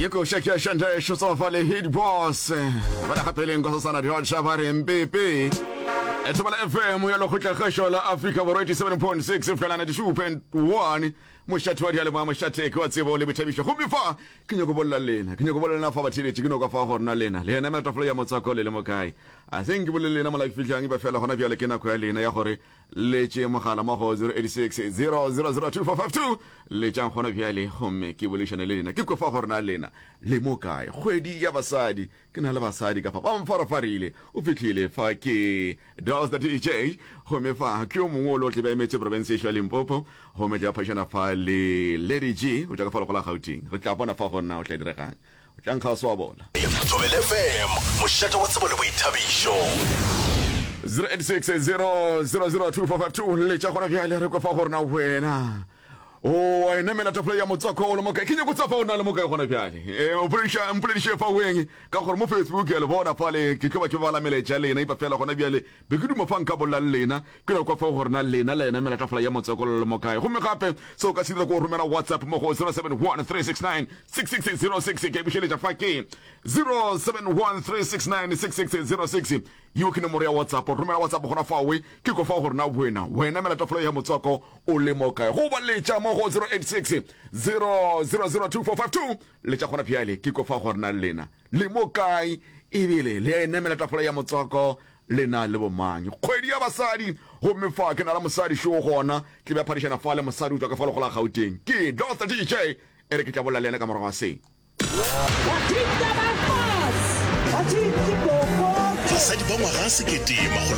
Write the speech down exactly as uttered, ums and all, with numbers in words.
Ye koša ke ya Shante Šotsofa le Hit Boss. Ba le gapeleng kwa sosana diotsha ba re mpepe. Thobela F M ya lekgotlakgašo la Afrika Borwa, eighty-seven point six fela ninety-two point one. Mošate wa dialemo, mošate ke wa tsebo le boithabišo. Gomme fa ke nyako bolela lena, ke nyako bolela lena fa batheletše, ke nyako fa gore na lena le ena melatafolo ya motswako le le mo kae. A seng ke bolele lena mola ke fihlang, ba fela gona bjale ke nako ya lena ya gore le tše mogala mo go zero eight six zero zero zero two four five two. Letšang gona bjale gomme ke boledišane le lena, ke kwe fa gore na lena le mo kae. Kgwedi ya basadi, ke na le basadi ka fa ba mfarafarile. O fihlile fa ke Dos the D J, gomme fa ke yo mongwe o le o tle ba emetse province ya Limpopo, gomme tla phadišana fa le Lady G o tla ka fa legola Gauteng. Re tla bona fa gore na o tla diregang, o tla nkga se wa bona. Thobela F M, mošate wa tsebo le boithabišo. zero eight six zero zero zero two four five two, letša gona bjale re kwe fa gore na wena o enamela tafole ya motswako o le mokae. Ke nyako tsa fa o na le mokae gona bjale. O mpolediša mpolediše fa weng, ka gore mo Facebook ya le bona fale ke tlo ba ke bala melaetša lena. Ipa fela gona bjale be ke duma fa nka bolela le lena, ke no kwa fa gore na lena le enamela tafola ya motswako le le mokae. Gomme gape se o ka se dira ko romela WhatsApp mo go zero seven one three six nine six six zero six. Ke bušeletša fa ke zero seven one three six nine six six zero six, yeo ke nomoro ya WhatsApp. Romela WhatsApp gona fawe, ke ko fa gore na wena wena mela tafolo ya motswako o le mo kae, go ba letša mo go zero eight six zero zero zero two four five two. Letša gona bjale, ke ko fa gore na lena le mo kae, ebile le enemela tafola ya motswako le na le bomang. Kgwedi ya basadi, gomme fa ke na le mosadi šo gona tle be phadišana fa le mosadi o tswa ka fa legola Gauteng, ke Doctor D J. E re ke tla bolela le yena ka morago ga se. Basadi ba ngwaga sekete makgolo.